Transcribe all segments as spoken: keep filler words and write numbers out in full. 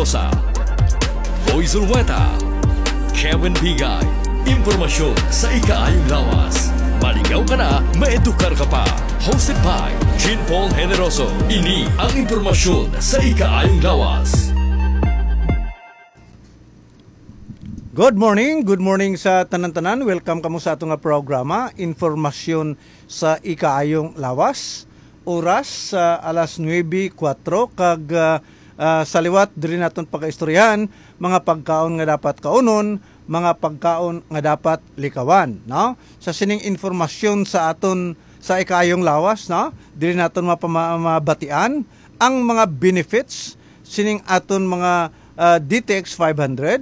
Mendoza, Boy Zulueta, Kevin Bigay. Impormasyon sa ikaayong lawas. Maligaw ka na, maedukar ka pa. Hosted by Jean Paul Generoso. Ini ang impormasyon sa ikaayong lawas. Good morning, good morning sa tanan-tanan. Welcome kamo sa ato nga programa, Informasyon sa Ikaayong Lawas. Oras sa alas nuebe kuwatro kag ah, ah, sa liwat diri naton pagaistoryahan mga pagkaon nga dapat kaunon, mga pagkaon nga dapat likawan, no? Sa sining informasyon sa aton sa ikaayong lawas, no? Diri naton mapama- mabatian ang mga benefits sining aton mga ah, D T X five hundred,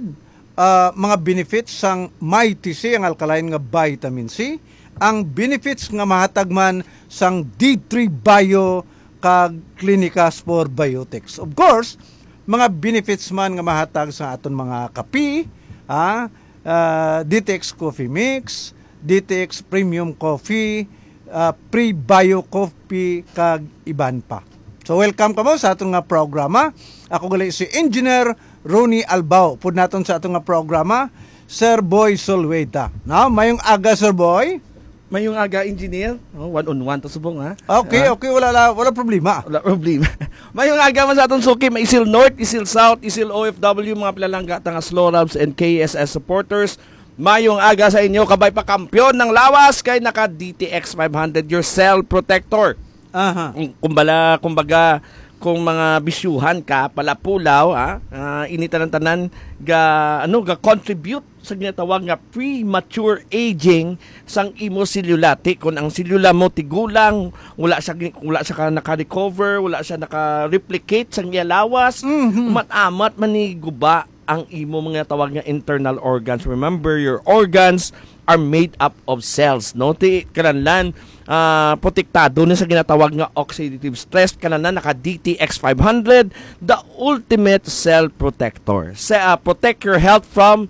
ah, mga benefits sang Mighty C, ang alkaline nga vitamin C, ang benefits nga mahatag man sang D three Bio kag Clinicas for Biotics. Of course, mga benefits man nga mahatag sa aton mga kape, ha? Ah, D T X Coffee Mix, D T X Premium Coffee, ah, Pre-Bio Coffee, kag iban pa. So, welcome kamo sa aton nga programa. Ako gali si Engineer Ronnie Albao. Pud naton sa aton nga programa, Sir Boy Solweta. No? Mayong aga, Sir Boy. Mayong aga, Engineer. Oh, one on one to subong, ha? Okay, Ah? okay, wala la- wala problema. Wala problema. Mayong aga man sa atong suki, may Isil North, Isil South, Isil O F W, mga pinalangga ta nga Slorabs and K S S supporters. Mayong aga sa inyo, kabay pa kampiyon ng lawas kay naka D T X five hundred, your cell protector. Aha. Kung kumbala, kumbaga, kung mga bisyuhan ka, palapulaw, ha? Ah, ini tanan-tanan ga ano, ga contribute sa ginatawag nga premature aging sang imo selula. Ti, kung ang selula mo tigulang, wala siya gi- wala siya ka naka-recover, wala siya naka-replicate sang iya lawas, Mhm. mat-amat man ni guba ang imo mga tawag nga internal organs. Remember, your organs are made up of cells, no? Ti, kananlan, ah, protektado ni sa ginatawag nga oxidative stress, kananlan naka D T X five hundred, the ultimate cell protector. Sa, ah, protect your health from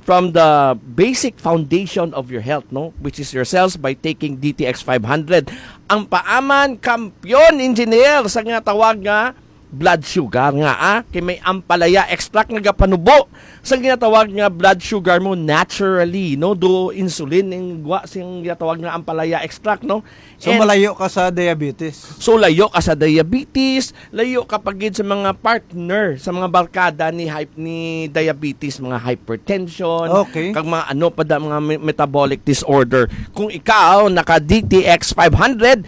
from the basic foundation of your health, no, which is your cells, by taking D T X five hundred. Ang paaman, kampiyon, Engineer, sa ginatawag nga blood sugar nga, ah, kay may ampalaya extract nga gapanubo sa ginatawag nga blood sugar mo naturally, no, do insulin ang gwa sing ginatawag nga ampalaya extract, no. So, And malayo ka sa diabetes. So, layo ka sa diabetes, layo ka pa gid sa mga partner, sa mga barkada ni hype ni diabetes, mga hypertension, Okay. kag mga ano pa da, mga me- metabolic disorder. Kung ikaw naka D T X five hundred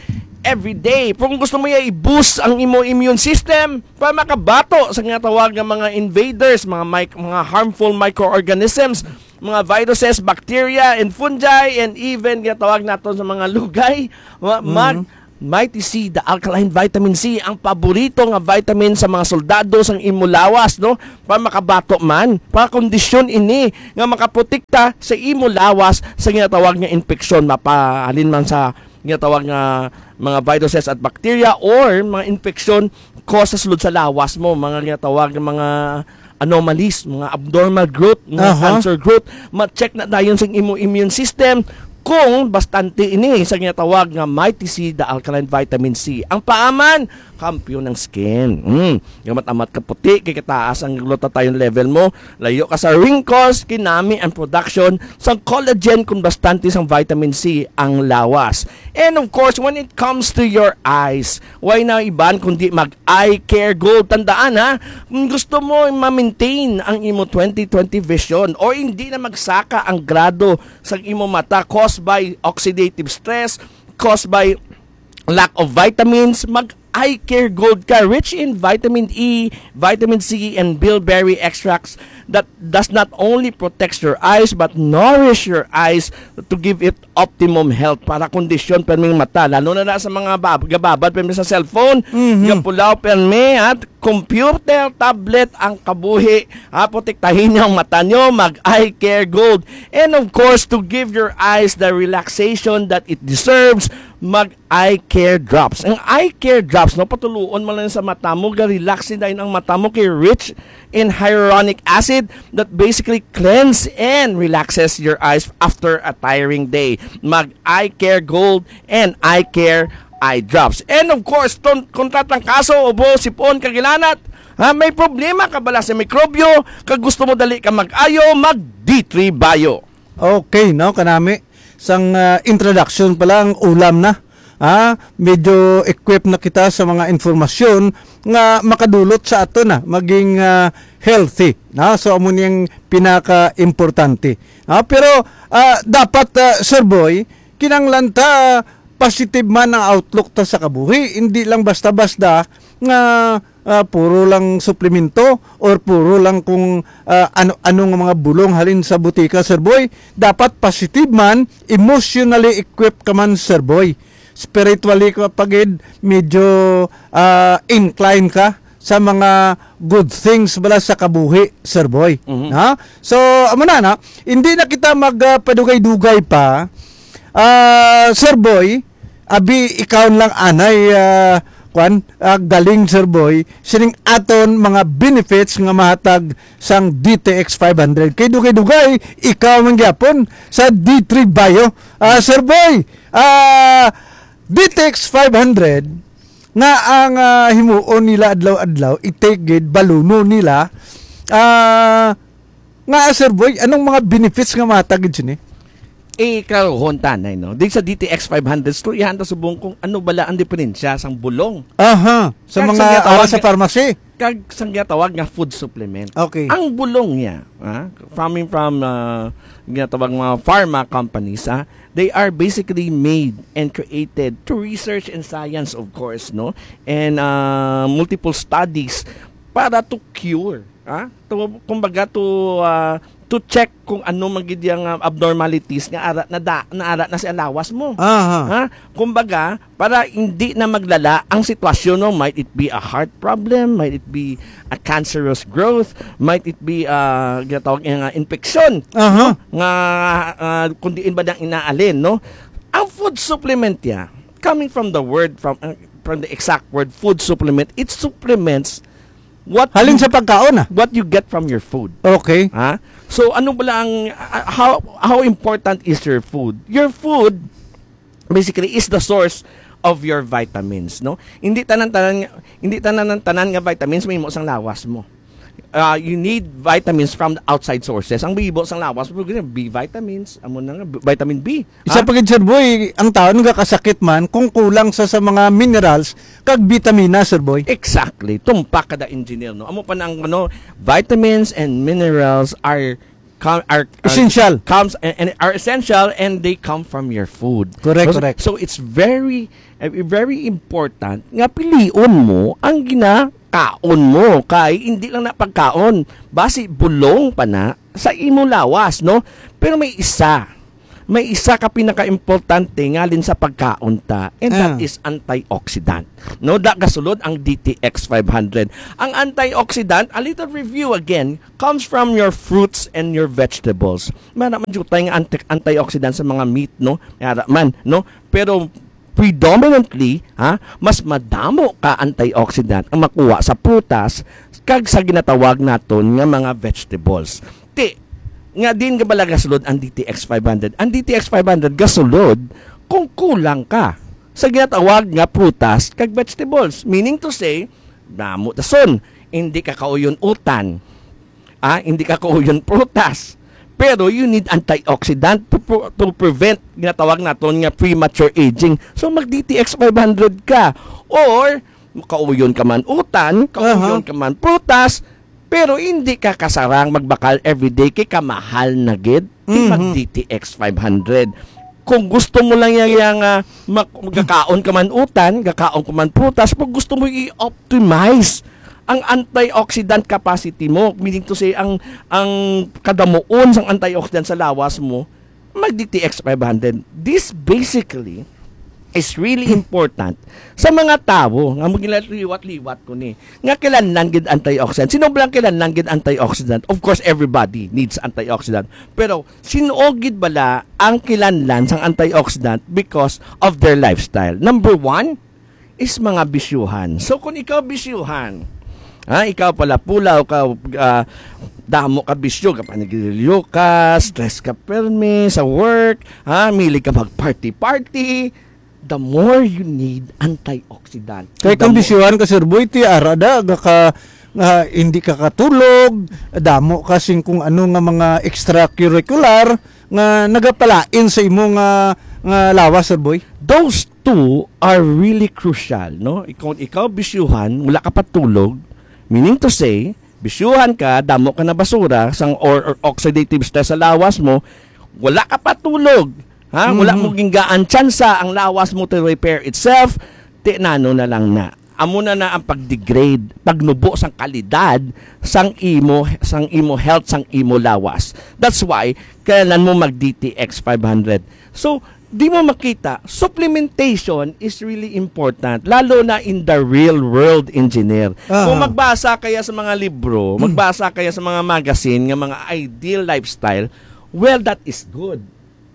every day, kung gusto mo ya i-boost ang imo immune system para makabato sa nga tawag nga mga invaders, mga mic- mga harmful microorganisms, mga viruses, bacteria, and fungi, and even nga tawag naton sa mga lugay, ma- mag- Mighty C, the alkaline vitamin C, ang paborito nga vitamin sa mga soldado sang imo lawas, no? Para makabato man, para kondisyon ini nga makaprotekta sa imo lawas sa ginatawag nga infeksyon, mapahalin man sa ginatawag nga mga viruses at bacteria or mga infeksyon ko sa sulod sa lawas mo, mga ginatawag nga mga anomalies, mga abnormal growth, mga Aha. cancer growth, ma-check na dayon sa imo immune system kung bastante ini sa ginatawag nga Mighty C, the alkaline vitamin C. Ang paaman, kampiyon ng skin. Mm. Gamat-amat ka puti, kay kataas ang glutathione level mo, layo ka sa wrinkles, kinami ang production sa collagen kung bastante sang vitamin C ang lawas. And of course, when it comes to your eyes, why na iban kundi mag Eye Care Gold. Tandaan ha, kung gusto mo ma-maintain ang imo twenty twenty vision o hindi na magsaka ang grado sa imo mata caused by oxidative stress, caused by lack of vitamins, mag Eye Care Gold ka, rich in vitamin E, vitamin C, and bilberry extracts that does not only protects your eyes but nourish your eyes to give it optimum health para kondisyon perming mata, lalo na, na sa mga bab- gababad permi sa cellphone, Mhm. gapulaw permi at computer, tablet ang kabuhi. Ha, protektahin niyo ang mata niyo, mag Eye Care Gold. And of course, to give your eyes the relaxation that it deserves, mag Eye Care Drops. Ang Eye Care Drops, no, patuluon mo lang sa mata mo, ga-relax din ang mata mo kay rich in hyaluronic acid that basically cleanse and relaxes your eyes after a tiring day. Mag Eye Care Gold and Eye Care Eye Drops. And of course, ton, kung tatrangkaso, ubo, sipon, kagilanat, Ha, may problema ka bala sa mikrobyo, kag gusto mo dali ka mag-ayo, mag D three Bio. Okay, no, kanami. Sang, ah, introduction pa lang, ulam na. Ha? Medyo equip na kita sa mga informasyon nga makadulot sa ato na maging, ah, healthy. Na? So, amo niyang pinaka-importante. Ha? Pero, ah, dapat, ah, Sir Boy, kinanglan ta positive man ang outlook ta sa kabuhi. Hindi lang basta-basta nga, ah, puro lang suplemento or puro lang kung, ah, ano-ano nga mga bulong halin sa butika, Sir Boy. Dapat positive man, emotionally equipped ka man, Sir Boy. Spiritually ka pa gid, medyo, ah, inclined ka sa mga good things bala sa kabuhi, Sir Boy. Mhm. Ha? So, amo na, na, hindi na kita magpadugay-dugay pa. Ah, Sir Boy, abi, ikaw lang anay, ah, kwan, ah, galing, Sir Boy, sining aton mga benefits nga mahatag sang D T X five hundred. Kay dugay-dugay, ikaw man gyapon sa D three Bio. Ah, Sir Boy, ah, D T X five hundred nga ang, ah, himuon nila adlaw-adlaw, itigid, baluno nila, ah, nga, Sir Boy, anong mga benefits nga matagid sini? Eh, karon, tanay, no? Di sa D T X five hundred, storyahan ta subong kung ano bala ang diferensya sang bulong. Aha, sa Kag mga sa ginatawag ara sa nga pharmacy. Kag sang ginatawag nga food supplement. Okay. Ang bulong niya, ah, coming from, ah, ginatawag mga pharma companies, ah, they are basically made and created through research and science, of course, no? And, ah, multiple studies para to cure, ah, to, kumbaga, to, ah, to check kung ano man gid yang, ah, abnormalities nga ara na da, na ara na sa lawas mo. Aha. Ha? Kumbaga, para hindi na maglala ang sitwasyon mo, might it be a heart problem, might it be a cancerous growth, might it be, ah, ginatawag nga infection, Aha. no? Nga, ah, kung diin ba nang inaalin, no? Ang food supplement niya, coming from the word, from, uh, from the exact word, food supplement, it supplements what Halin you, sa pagkaon, ah. what you get from your food. Okay. Ha? So, ano ba lang, uh, how, how important is your food? Your food, basically, is the source of your vitamins, no? Hindi tanan-tanan, hindi tanan-tanan nga vitamins may mo sang lawas mo. Uh, you need vitamins from the outside sources. Ang bibo sang lawas mo, B vitamins, amo na nga, vitamin B. Isa Ha? pa gid, Sir Boy, ang tao nagakasakit man kung kulang sa, sa mga minerals kag bitamina, Sir Boy. Exactly. Tumpak ka da, engineer, no? Amo pa nang, ano, vitamins and minerals are, com-, are, are Essential. comes and, and are essential, and they come from your food. Correct, So, correct. so it's very, uh, very important nga pilion mo ang ginakaon mo, kay hindi lang na pagkaon, basi bulong pa na sa imo lawas, no? Pero may isa, may isa ka pinakaimportante ngalin sa pagkaon ta, and that Ah. is antioxidant. No, da gasulod ang D T X five hundred. Ang antioxidant, a little review again, comes from your fruits and your vegetables. May ara man jutay nga anti-, antioxidant sa mga meat, no? May ara man, no? Pero predominantly, ha, mas madamo ka antioxidant ang makuha sa prutas kag sa ginatawag naton nga mga vegetables. Ti, nga din nga bala gasulod ang D T X five hundred. Ang D T X five hundred gasulod kung kulang ka sa ginatawag nga prutas kag vegetables. Meaning to say, damo dason, hindi ka kauyon utan. Ah, hindi ka kauyon prutas. Pero you need antioxidant to, pro-, to prevent ginatawag naton nga premature aging. So, mag D T X five hundred ka. Or, kauyon ka man utan, kauyon Aha. ka man prutas, pero hindi ka kasarang magbakal everyday kay kamahal na gid. Di Mhm. mag D T X five hundred. Kung gusto mo lang yang, yang, ah, mak-, gakaon ka man utan, gakaon ka man prutas, pag gusto mo i-optimize ang antioxidant capacity mo, meaning to say, ang, ang kadamuon sang antioxidant sa lawas mo, mag D T X five hundred. This basically is really important sa mga tawo nga magiliwat-liwat ko ni, nga kinahanglan gid antioxidant. Sino ba lang kinahanglan gid antioxidant? Of course, everybody needs antioxidant. Pero sino gid bala ang kinahanglan sang antioxidant because of their lifestyle? Number one is mga bisyuhan. So, kung ikaw bisyuhan, ha, ikaw pala pulaw ka, ah, damo ka bisyo, ka panigilyo ka, stress ka permi sa work, ha, mili ka mag-party-party, the more you need antioxidant. Kay The kung mo- bisyuhan ka, Sir Boy, ti ara da, ga ka, Ah, hindi ka katulog, damo ka sing kung ano nga mga extracurricular nga nagapalain sa imo nga, nga lawas, Sir Boy? Those two are really crucial, no? Ikaw, ikaw bisyuhan, wala ka patulog, meaning to say, bisyuhan ka, damo ka na basura sang, or, or oxidative stress sa lawas mo, wala ka patulog, ha? Wala Mhm. mo ginggaan tsansa ang lawas mo to repair itself, ti nano na lang na. Amo na na ang pag-degrade, pagnubo sang kalidad sang imo, sang imo health, sang imo lawas. That's why kailangan mo mag D T X five hundred. So, di mo makita, supplementation is really important, lalo na in the real world, engineer. Aha. Kung magbasa kaya sa mga libro, Hmm. magbasa kaya sa mga magazine nga mga ideal lifestyle, well, that is good.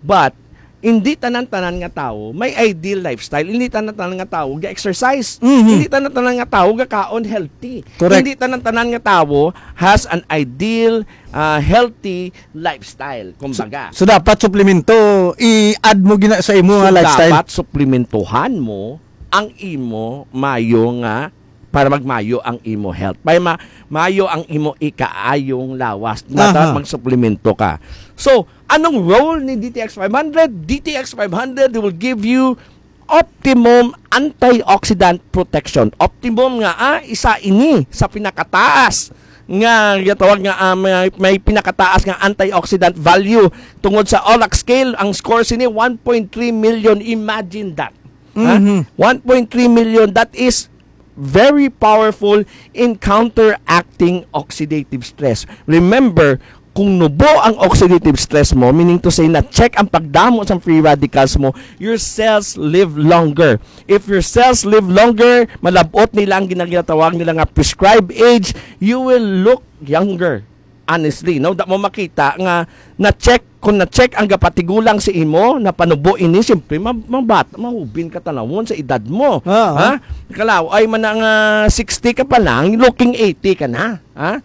But, hindi tanan-tanan nga tawo may ideal lifestyle. Hindi tanan-tanan nga tawo ga-exercise. Mhm. Hindi tanan-tanan nga tawo gakaon healthy. Correct. Hindi tanan-tanan nga tawo has an ideal, ah, healthy lifestyle, kumbaga. So, so dapat suplemento, i-add mo gina sa imo So, nga lifestyle. Dapat suplementohan mo ang imo mayo nga, para magmayo ang imo health. May ma-, mayo ang imo ikaayong lawas. Dapat Aha. magsuplemento ka. So, anong role ni D T X five hundred? D T X five hundred will give you optimum antioxidant protection. Optimum nga, ah, isa ini sa pinakataas nga ginatawag nga, ah, may, may pinakataas nga antioxidant value tungod sa OLAC scale. Ang score sini, one point three million. Imagine that. Ha? Mhm. One point three million, that is very powerful in counteracting oxidative stress. Remember, kung nubo ang oxidative stress mo, meaning to say, na-check ang pagdamo sa free radicals mo, your cells live longer. If your cells live longer, malabot nila ang gina-, ginatawag nila nga prescribed age, you will look younger. Honestly, no? Da mo makita nga na-check, kung na-check ang gapatigulang sa imo, napanubo ini, siyempre, ma-, mabat-, mahubin ka tanawon sa edad mo. Ah, Ha? ah. Kalaw, ay man nga sixty ka pa lang, looking eighty ka na. Ha?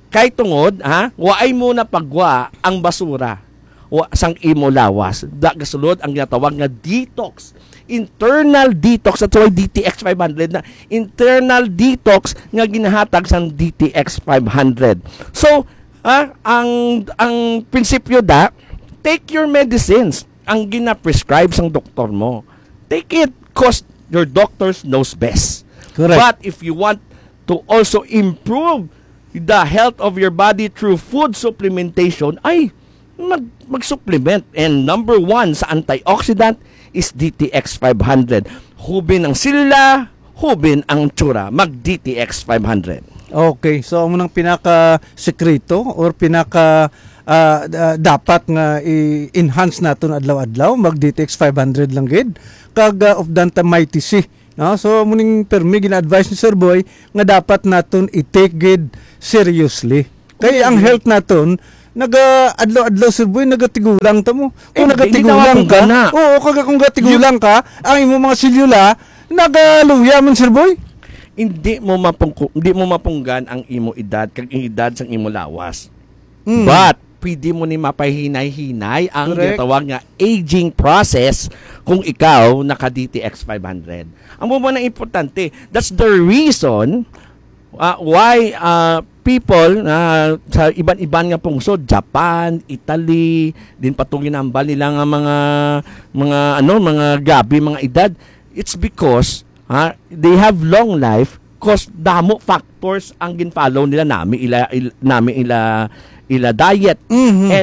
Kay tungod, ha? Waay mo na pagwa ang basura wa, sang imo lawas. Da, gasulod ang ginatawag nga detox. Internal detox. That's why D T X five hundred na. Internal detox nga ginahatag sang D T X five hundred. So, ah, ang, ang prinsipyo da, take your medicines. Ang gina-prescribe sang doktor mo. Take it 'cause your doctors knows best. Correct. But if you want to also improve the health of your body through food supplementation, ay, mag-, mag-supplement. And number one sa antioxidant is D T X five hundred. Hubin ang selula, hubin ang tsura. Mag D T X five hundred. Okay, so amo nang pinaka sekreto or pinaka, ah, ah, dapat nga i-enhance naton adlaw-adlaw, mag D T X five hundred lang gid. Kag, ah, of Danta Mighty C, no? So, muning permi gina-advise ni Sir Boy nga dapat naton i-take gid seriously. Kay ang health naton, naga adlaw-adlaw, Sir Boy, nagatigulang ta mo. Kung Eh, hindi nagatigulang ka, na mapunggan na. Oo, kag kung gatigulang ka, ang imong mga selula nagaluya man, Sir Boy. Hindi mo mapungku-, hindi mo mapunggan ang imo edad kag ang edad sang imo lawas. Mm. But pwede mo ni mapahinay-hinay ang Correct. ginatawag nga aging process kung ikaw naka D T X five hundred. Ang mo na importante, that's the reason, ah, why, ah, people na sa iban-iban nga pungsod, Japan, Italy, din pa tong ginambal nila nga mga, mga, ano, mga grabe, mga edad, it's because, ha, they have long life 'cause damo factors ang gin-follow nila, nami ila, il-, nami ila, ila diet. Mhm. And